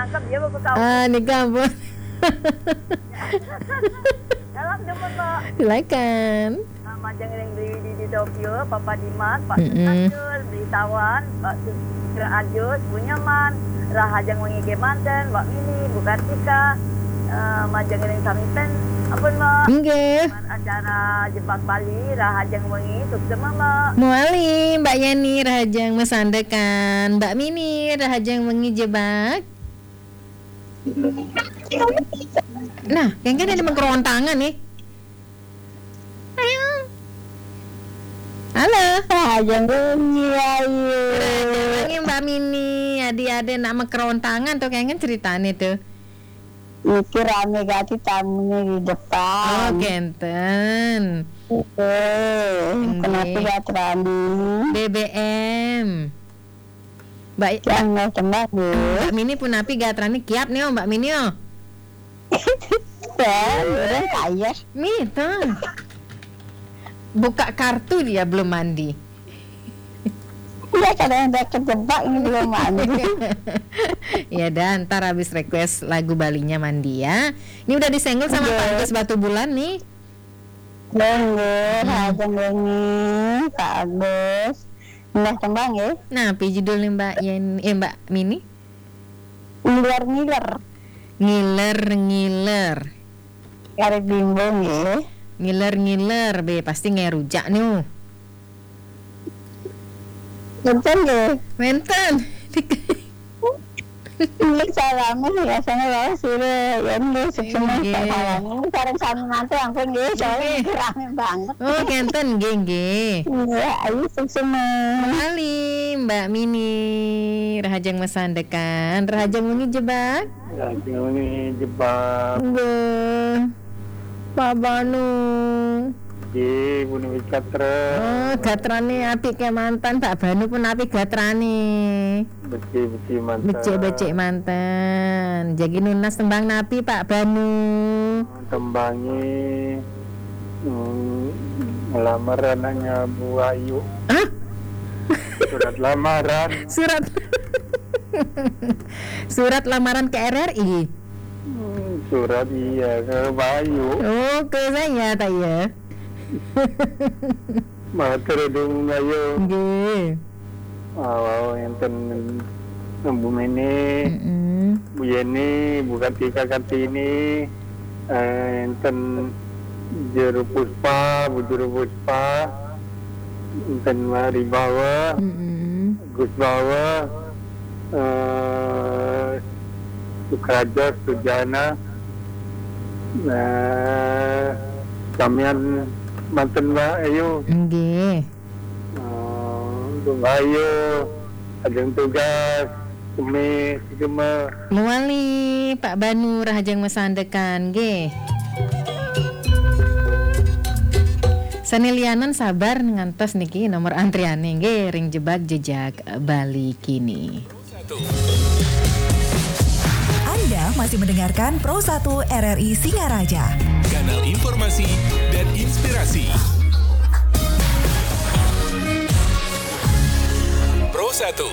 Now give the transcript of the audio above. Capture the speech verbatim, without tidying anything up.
Cakep ya, Bapak Kau. Ah, nika ampun. Salam jemput, Pak. Silakan. Ah, majeng ring Beli Widi di Tokyo, Papa Dimas, Pak Mm-mm. Sutajul, Beli Tawan, Pak Sukra Ajus, Bu Nyoman, rahajeng wengi kemanten, Mbak Mini, Bu Kartika, eh, majeng ring sami ten, ampun, Mbak. Inggih. Acara Jebak Bali, rahajeng wengi, suksema, Mbak. Muali, Mbak Yeni, rahajeng masandekan, Mbak Mini, rahajeng wengi jebak. Nah, kengken ada mengkerontangan nih. Ayo. Halo. Rahajeng wengi, ayu. Rahajeng wengi, Mbak Mini, adi-adi nak mengkerontangan tuh kengken ceritane tuh. Niki rame gati tamunya di depan. Oh, kenten. Eh, Nggih. Kenapa gak rame? B B M. Mbak, Yang nggak tembak, Bu. Mbak Mini punapi gatrane kiap nih, oh, Mbak Mini, oh. Ya, udah kaya. Mita. Buka kartu dia belum mandi. Iya, kadang udah kejebak ini belum mandi. Ya, dan ntar habis request lagu Balinya mandi ya. Ini udah disenggol sama Nggih. Pak Agus Batu Bulan nih. Nggih, Hmm. Rahajeng wengi, Pak Agus. Nggih, tembang nggih. Nah, apa judulnya Mbak Yen, eh, Mbak Mini? Ngiler-ngiler. Ngiler-ngiler. Kari Bimbo nggih. Ngiler-ngiler, be pasti ngerujak nih. Wenten nggih. Wenten. Ini salame biasanya wae sire, ya nggih, suksema Nggih. Salame. Ini sareng sami mantu ampun nggih, soalnya Nggih. Ini rame banget. Oh, kenten nggih, nggih. Iya, ayu suksema. Kembali Mbak Mini, rahajeng masandekan, rahajeng wengi jebak. Rahajeng wengi jebak. Nggih. Pak Banu. Nggih, punapi gatra. Oh, gatrane apik kemanten, Pak Banu punapi gatrane. Becik-becik manten. Becik-becik manten. Jagi nunas tembang napi, Pak Banu? Tembangi, hmm, ngelamar anaknya Bu Ayu. Hah? Surat lamaran. Surat. Surat lamaran ke R R I. Hmm, surat iya, ke Bu Ayu. Oh, ke saya, tak ya? Matur dong, ayo. Nggih. Awau enten Bu Mene, Mm-mm. Bu Yeni, Bu Kartika Kartini, eh, enten Juru Puspa, Bu Juru Puspa, enten Mari Bawa, Mm-mm. Gus Bawa, eh, Sukraja, Sujana, eh, samian manten Mbak Ayu. Nggih. Eh, Mbak Ayu, ajeng tugas, kemi, kemi. Muali, Pak Banu, rahajeng masandekan, nggih. Sane lianan sabar ngantos niki nomor antriane, nggih, ring jebak jejak Bali kini. Anda masih mendengarkan Pro satu R R I Singaraja. Kanal informasi dan inspirasi. Pro satu.